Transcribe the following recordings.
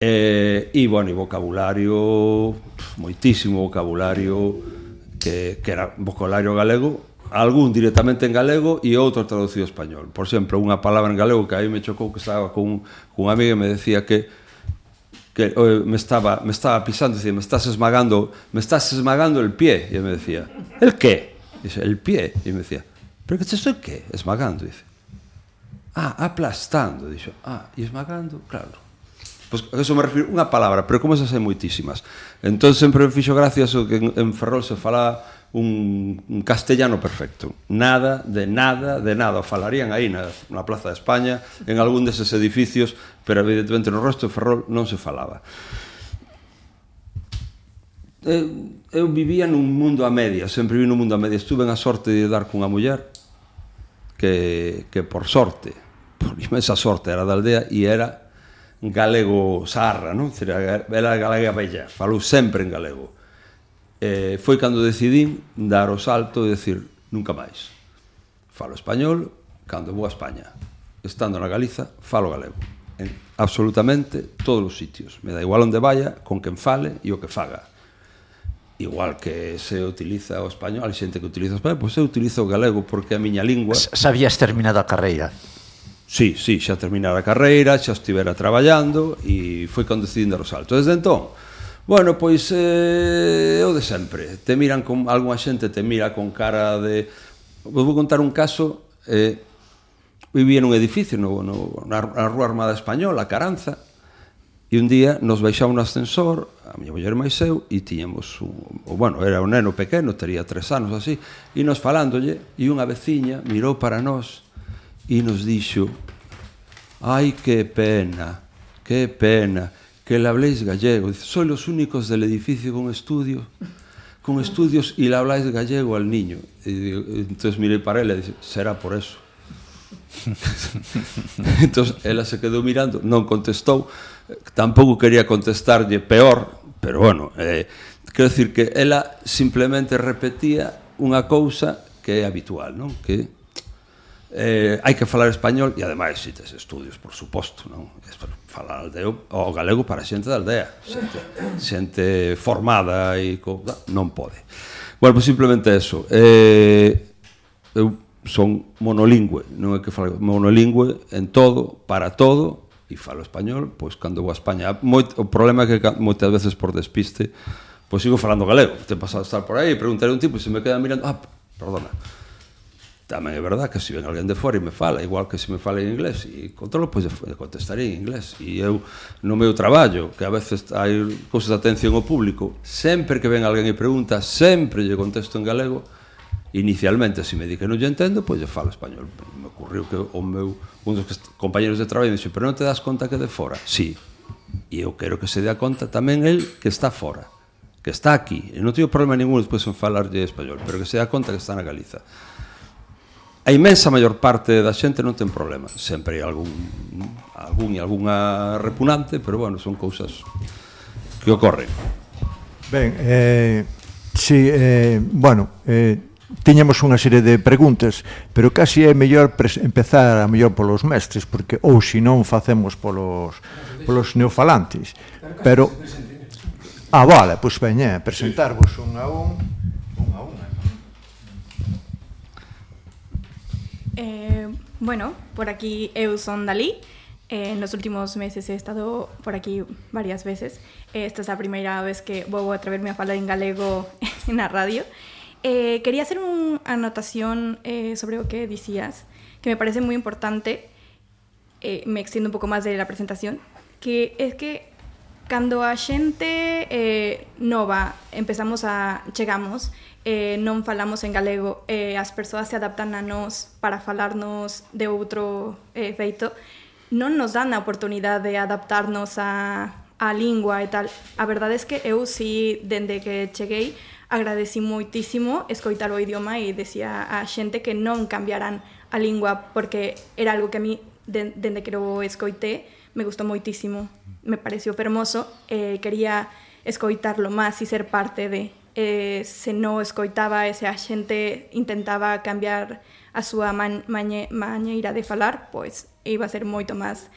E, bueno, e vocabulario, moitísimo vocabulario, que era vocabulario galego, algún directamente en galego e outro traducido ao español. Por exemplo, unha palabra en galego que aí me chocou, que estaba con unha amiga e me decía que me estaba pisando, decía, me estás esmagando el pie. E me decía, ¿el qué? Dice, el pie. E me decía, ¿pero que te estoy qué? Esmagando, dice. Aplastando, dixo. E esmagando, claro. Pois a eso me refiro, unha palabra, pero como esas hai moitísimas. Entón sempre me fixo gracias o que en Ferrol se falaba un castellano perfecto. Nada, o falarían aí na Plaza de España, en algún deses edificios, pero evidentemente no resto de Ferrol non se falaba. Eu vivía nun mundo a medias, sempre vivi nun mundo a medias. Tuve a sorte de dar cunha muller que por sorte, por inmensa sorte, era da aldea e era galego sarra, non? Era galega bella, falou sempre en galego. Foi cando decidín dar o salto e decir, nunca máis. Falo español cando vou a España. Estando na Galiza, falo galego. En absolutamente todos os sitios. Me dá igual onde vaya, con quen fale e o que faga. Igual que se utiliza o español, hai xente que utiliza o español, pois eu utilizo o galego porque é a miña lingua. Sabías terminado a carreira? Sí, xa terminara a carreira, xa estivera traballando e foi cando decidín dar o salto. Desde entón, bueno, pois o de sempre. Te miran con algunha xente, te mira con cara de... Vou contar un caso. Vivía nun edificio na Rúa Armada Española, a Caranza, e un día nos baixamos no ascensor, a miña muller máis eu, e tiñamos bueno, era un neno pequeno, tería 3 anos así, e nos falándolle, e unha veciña mirou para nós e nos dixo, ai, que pena, que le habléis gallego. Dice, sois los únicos del edificio con estudios y le habláis gallego al niño. Y entonces miré para ela e dice, será por eso. Entonces ela se quedou mirando, non contestou, tampouco quería contestarlle peor, pero bueno, quero dicir que ela simplemente repetía unha cousa que é habitual, non? Que hai que falar español e ademais si tes estudios, por suposto, non? Falar o galego para xente da aldea, xente formada e non pode. Bueno, pois simplemente eso. Eu son monolingüe, non é que falo monolingüe en todo, para todo, e falo español, pois cando vou a España. O problema é que moitas veces por despiste, pois sigo falando galego. Te pasado a estar por aí, preguntaré a un tipo e se me queda mirando, perdona. Tamén é verdad que se ven alguén de fora e me fala, igual que se me fala en inglés, e controlo, pois contestaré en inglés. E eu, no meu traballo, que a veces hai cousas de atención ao público, sempre que ven alguén e pregunta, sempre lle contesto en galego. Inicialmente, se me di que non lle entendo, pois lle falo español. Me ocurriu que un dos compañeros de traballo me dixo, pero non te das conta que de fora? Sí, e eu quero que se dea conta tamén el que está fora, que está aquí, e non teño problema ningún despois en falarlle español, pero que se dea conta que está na Galiza. A inmensa maior parte da xente non ten problema. Sempre hai algunha repugnante, pero bueno, son cousas que ocorren. Ben, tiñamos unha serie de preguntas, pero casi é mellor empezar a mellor polos mestres, porque ou se non facemos polos neofalantes. Pero vale, pois veña, presentarvos un a un. Bueno, por aquí eu son Dalí. En los últimos meses he estado por aquí varias veces. Esta es la primera vez que vou a atreverme a falar en galego na radio. Quería hacer una anotación sobre lo que decías, que me parece muy importante. Me extiendo un pouco máis de la presentación, que es que cando a xente nova chegamos, non falamos en galego, as persoas se adaptan a nós para falarnos de outro feito, non nos dan a oportunidade de adaptarnos a lingua e tal. A verdade é que eu si, dende que cheguei, agradeci moitísimo escoitar o idioma e decía a xente que non cambiaran a lingua, porque era algo que a mí, dende que o escoité, me gustou moitísimo, me pareció fermoso, quería escoitarlo máis e ser parte de... se non escoitaba e se a xente intentaba cambiar a súa maneira de falar, pois iba a ser moito máis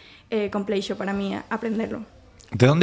complexo para mí aprenderlo. De onde